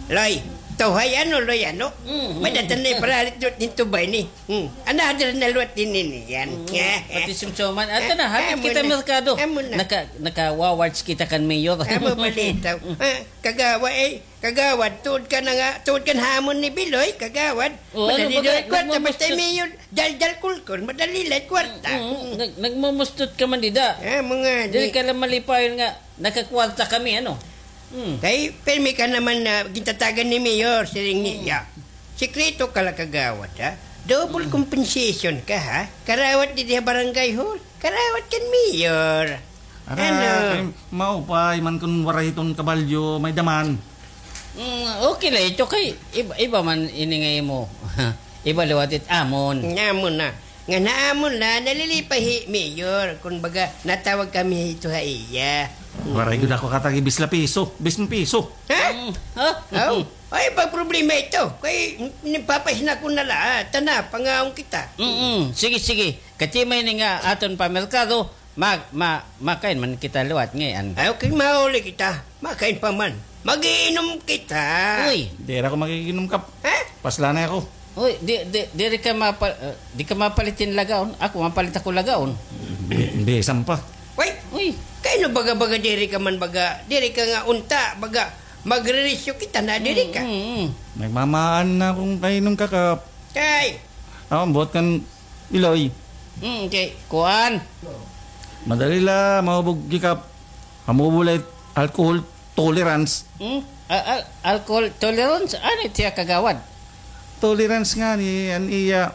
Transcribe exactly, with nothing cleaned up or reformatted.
Loy, tuhay ano, Loy, ano? Mm, mm. Madatan na yung paralit dot ninto ba ini? Hmm. Ana, hadira na luwat din ini yan. Mm, pati sumsuman. Ato na, hapit kita merkado. Amo na. Naka, nakawawards kita kan mayor. Amo balita. Ah, kagawad, eh, kagawad, tuod ka na nga, tuod ka na hamon ni Biloy, kagawad. O, ano ba ka, nagmumustod? Madali daw kwarta, basta mayor, daldal kulkul, madali la kwarta. Mm, mm, nag-, nagmumustod ka man dida. Amo ngani. Diri ka la malipayon nga, nakakwarta kami, ano? Hmm. Kay, pirmi ka naman na gintatagan ni Mayor, siring niya. Sikreto ka la kagawad, ha? Double compensation ka, ha? Karawat didi ha barangay hall, karawat kan Mayor. Ara, ano? Kay maupay man kun waray iton kabalyo, may daman. Mm, okay la ito kay iba, iba man ini nga imo. Iba liwat it amon. Nga amon na. Nga naamon na, nalilipay hi Mayor. Kun baga, natawag kami hito ha iya. Waray gud ako katagi bis la piso, bis piso. Ha? Mm, ha? Aw, ay, pag problema ito. Kay, nipapasna ko na la, ah, tana, pangaon kita. Mm-mm. Sige, sige. Kati may ni nga aton pa merkado, ma-, ma-, makain man kita liwat ngay-an. Ay, okay, mauli kita. Makain pa man. Mag-iinom kita. Uy. Diri ako mag-iinom kap. Ha? Pasla na ako. Uy, di, di, diri ka mapa-, eh, di ka mapalit hin lagaon. Ako, mapalit ako lagaon. Bi-, bisan pa. Uy. Uy. Kay no baga-baga diri ka man baga, diri ka nga unta, baga magreresyo kita na diri ka. Mm, mm, mm. Nagmamaan na akon kainom ka kap. Kay. Ako, buot kan Iloy. Mm, kay, kuan. Madali la, mahubog gikap. Hamubo la it alcohol tolerance. Hmm? Al-, al-, alcohol tolerance? Ano it hiya kagawad? Tolerance ngani, an iya,